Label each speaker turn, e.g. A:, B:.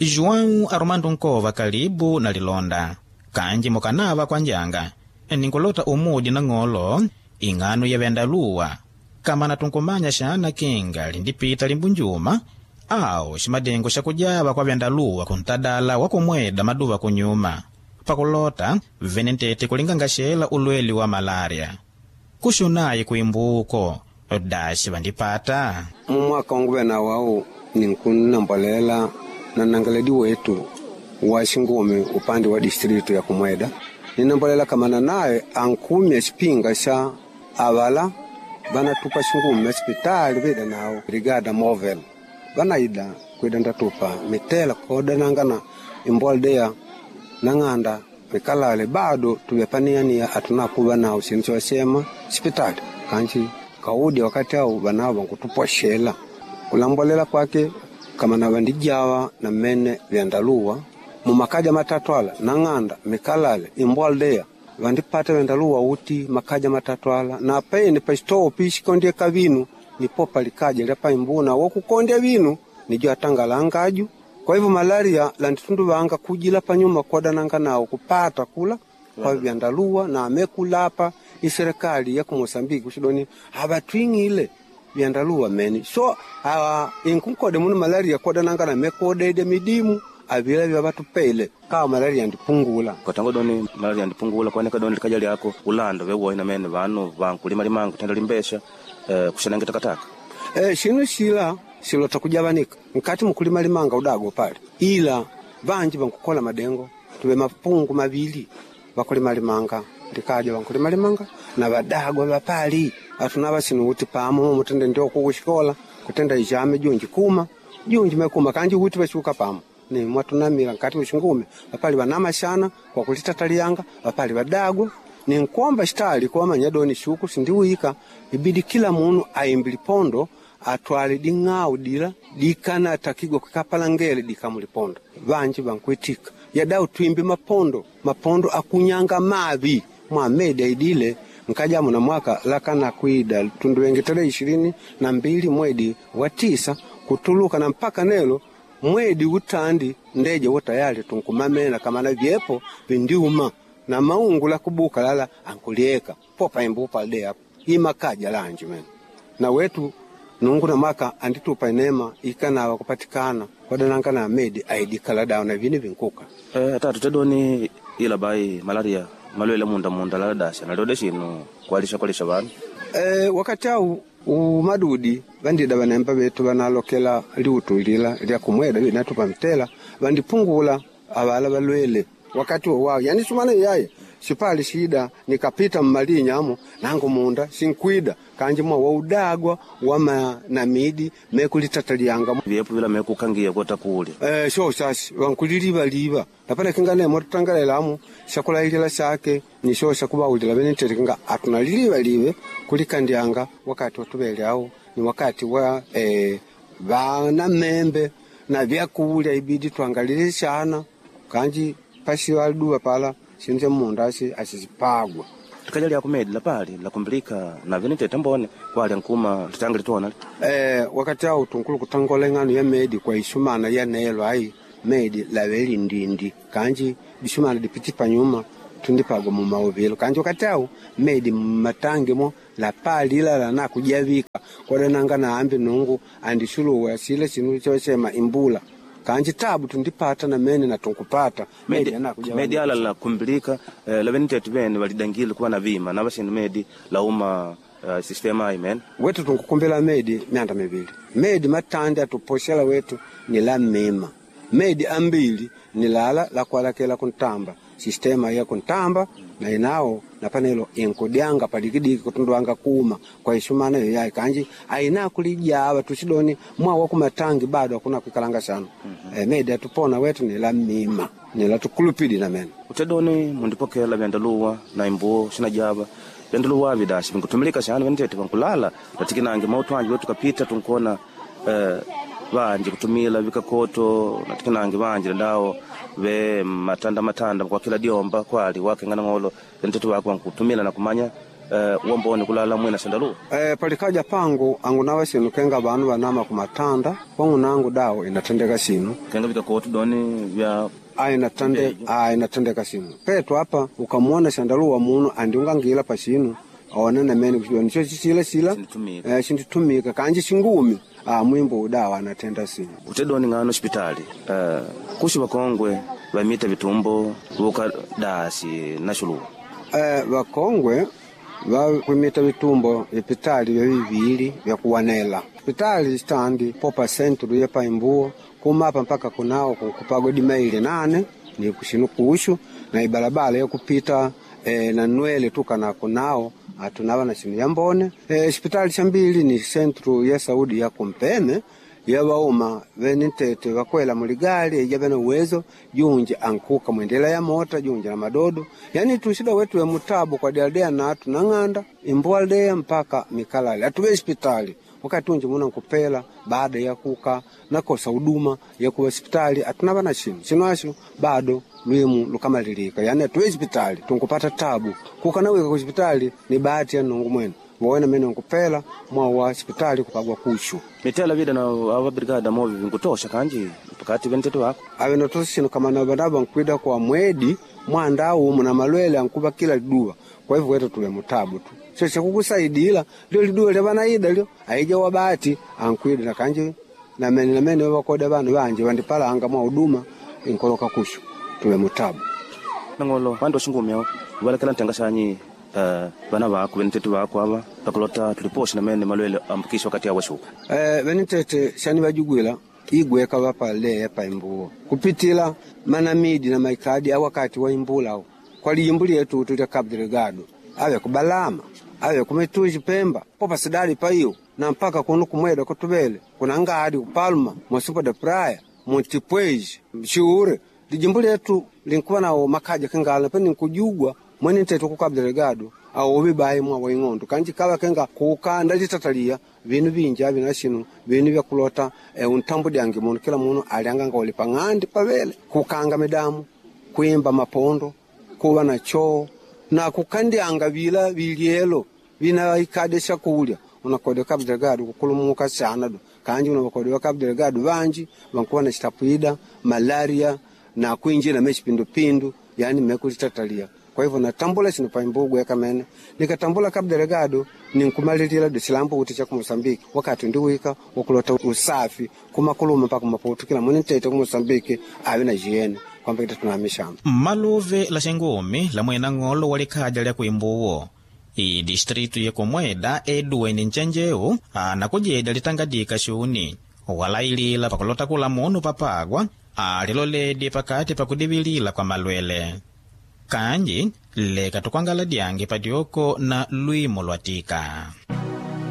A: João Armando Nkova kalibu na lilonda kanji mukanava kwa njanga ninkulota umudi na ng'olo ing'ano ya vyandaluwa kama natunkumanya xana kinga lindipita limbunjuma au ximadengo xa kujava kwa vyandaluwa kuntadala wa kumweda maduva kunyuma pakulota venentete kulingangaxela ulweli wa malária kuxunayi kuimbuko daxi vandipata
B: Mumwaka wanguve nawo au ninkunambolela na nangaledi wetu wa xingume upande wa distritu ya kumweda ninambolela kamana naye ankumya xipinga xa avala vanatupa xingume sipitali vida nawo brigada movel vanaida kwida ndatupa mitela kodanangana imboldeya nang'anda mikalale bado tuvyapaniania atunakuva nawo sinu cowasema sipitali kanji kaudi wakati au vanavo vankutupoxela kulambolela kwake kama na vandijawa na mene vyandaluwa mumakaja matatu ala nang'anda mikalale imboldeya vandipata vyandaluwa uti makaja matatu ala na pene pasitowo pixikondyeka vinu nipo palikaja lya paimbuna wokukondya vinu nijo atangala angaju. Kwa hivyo malaria landitunduvanga kujila panyuma kodananga nawo kupata kula kwa vyandaluwa na amekulapa iserikali ya ku Mosambiki kuxidoni avatwing'ile vyandaluwa meni so inkunkode munu malaria kodananga na mekodede midimu avila vya vatupele kawa malaria ndipungula.
C: Katango doni malaria ndipungula kwanika doni likaja lyako ulando vewoina mene vanu vankulimalima kutenda limbesha kuxanange takataka.
B: Xinu xila xilota kujavanika nkati mukulimalimanga udago pale ila vanji vankukola madengo tuve mapungu mavili vakulimalimanga likaja vankulimalimanga na vadagwa vapali atunava sinu uti pamo mutende ndio kukuxikola kutenda ixame junji kuma junji mekuma kanji uti vaxuka pamo ni mwatunamila nkati muxingume vapali vanamaxana kwa kulitatalianga vapali vadagwa ninkuomba xitali kuwamanya doni xuku sindiwika ibidi kila munu aimbi lipondo atwale ding'au dila dikana takigwa kwikapala ngele dikamulipondo vanji vankuitika yadau twimbi mapondo mapondo akunyanga mavi mwamedi aidile nkajamu na mwaka lakana kwida tunduwenge tarehe 22 mwedi wa 9 kutuluka na mpaka nelo mwedi utandi ndeje wo tayari tunkumamena kamana vyepo vindiuma na maungu la kubuka lala ankulieka popa imbupa de hapo imakaja lanji mene na wetu nungu na maka anditupa inema ikanawa kupatikana kwadananga na medi aidikala dawa na vini vinkuka.
C: Tatu tedoni ila bai malaria malwele munda munda lala dasha nalioda xinu kwalisha kwalisha vanu.
B: Wakati au umadudi vandida vanemba vetu vanalokela liutu lila lya kumweda vinatupa mtela vandipungula avala valwele wakati wowao yani sumana yaye sipali shida nikapita mmalinyamo nangu munda sinkwida kanji mwa waudagwa wama namidi mekulitataliyanga
C: vyepo vila mekukangia kota kulya.
B: Sho sasi vankulilivaliva napana kinga nemo tutangalelamu shakulailila shake ni sho shakuvawulila venenterekenga atunalilivalive kulikandyanga wakati watuvele au ni wakati wa vana membe na vyakulya ibidi twangalile shana kanji pasi waduwa pala sinu cha munda asi asizipagwa.
C: Likaja lya kumedi lapali lakumbilika na venentete mbone kwalya nkuma litanga litona.
B: Wakati au tunkulu kutangola ing'ano ya medi kwa isumana ya nelo ai medi laveli ndindi kanji disumana dipiti panyuma tundipagwa mumauvilo kanji wakati au medi mmatangi mo lapali ilala na kujavika kwadananga na ambi nungu andisuluwa sile sinu chosema imbula kanji tabu tundipata na mene na tunkupata
C: medi, medi ala la kumbilika lavenitete vene validangile kuva na vima na vasinu medi lauma sistema ayi mene
B: wetu tunkukumbila medi myanda mivili medi matandi atuposhela wetu ni la mima medi ambili ni lala lakualakela kuntamba sistema ya kuntamba na inawo napanelo inkudyanga padikidiki kutundwanga kuma kwa isumana yo yayi kanji aina kulijava tusidoni mwawa kumatangi bado akuna kuikalanga sana. Medi atupona wetu ni la mima ni la tukulupidi na mene
C: utedoni mundipokela vyandaluwa na imbuo xinajava vyandaluwa vidasi vinkutumilika xana venitete vankulala tatikinange mautu anji wetu kapita tunkona vanji kutumila vikakoto natikinange vanji dandawo ve matanda matanda kwa kila diomba kwali wakengana ng'olo venitete wako vankutumila na kumanya wambone kulala mwina shandaluwa.
B: Palikaja pangu angunawa sinu kenga vanu vanama kumatanda kwangu dawo inatendeka sinu
C: kenga vikakotu doni vya
B: inatendeka sinu petu apa ukamuona shandaluwa munu andiungangila pa sinu aonene mene kuchidoni cho chisila sila shinditumika kanji shingumi mwimbo udawa anatenda sinu
C: utedoni ng'ano hospitali kushi vakongwe vamita vitumbo vuka dasi na shuluwa
B: vakongwe vakwimita vitumbo vipitali vya vivili vya kuwanela pitali standi popa sentru ya paimbuo kumapa mpaka kunao kupagwa dimaili 8 ni kushinu kushu na ibalabala yakupita na nwele tukana kunao atunava na sinu yambone hospitali shambili ni sentru ya Saudi ya kumpeme yawauma vene ntete vakwela muligali ija vene uwezo junji ankuka mwendela ya mota junji na madodo yani tushida wetu ya mutabu kwa dialdea natu na ng'anda imbualdea mpaka mikalali atuve hospitali wakati unji muna nkupela baada ya kuka nakosa huduma ya kuwa hospitali atunava na shinu shinu asho bado lwimu lukamalilika yani atuve hospitali tunkupata tabu kukanawika ku hospitali ni bahati ya nungu mwene wona mene nkupela mwa wa hospitali kupagwa kushu
C: mitela vida na ava brigada movi vinkutosha kanji pakati ventete wako
B: avenatosha shinu kama na vanava nkwida kwa mwedi mwanda umu na malwele ankuva kila liduwa kwa hivyo wetu tuwe mutabu tu sio chakukusaidila lio liduwa lya vanaida lyo aija wabati ankwida na kanji na mene na mene wakoda vanu vanje vandipalanga mwa huduma inkoloka kushu tuwe mutabu
C: nangolo vandu washingumi ao valekela ntengashanyi vana vako venitete vako ava pakulota tuliposha namene malwele ambukisha wakati awashuka
B: venitete shani vajugwila igweka vapaleya pa imbuo kupitila manamidi na maikadi awakati wa imbula ao kwa lijimbu lyetu tulya Cabo Delgado ave kubalama ave kumituji Pemba popa sidali paiyo na mpaka kuno kumweda kutuvele kuna ngadi kupalma Mocimboa da Praia Montipweji Chiure lijimbu lyetu linkuwa nawo makaja kengala peni nkujugwa mwene ntete ku Cabo Delgado awo bibayi mwa waing'ondo kanji kala kenga kukanda litatalia vinu vinji avina shinu vinu vyakulota untambo dyange munu kila munu alianga ngoli pang'andi pavele kukanga midamu kuimba mapondo kuva na choo na kukandyanga vila vilyelo vina ikade shakulya unakodewa Cabo Delgado kukulumuka sana do kanji unakodewa Cabo Delgado vanji vankuva na chitapwida malaria na kuinjila mechipindupindu yani mekulitatalia kwa hivyo natambula sino paimbugu yakamene nikatambula Cabo Delgado ninkumalilila do chilambo kuti cha ku wakati ndiwika wakulota usafi kumakuluma mpaka kumaputu kila mwene ntete ku Mosambiki ave na jiene kwamba kita tunamishamba
A: mmaluve la xingumi la mwena ng'olo wa likhaja lya kuimbuwo idistritu yekumweda eduweni ncenjeu anakujeda litangadika xuni walailila pakulota kula munu papagwa aliloledi pakati pakudivilila kwa malwele kanji leka tukwangala dyange padyoko na lwimo lwa tika.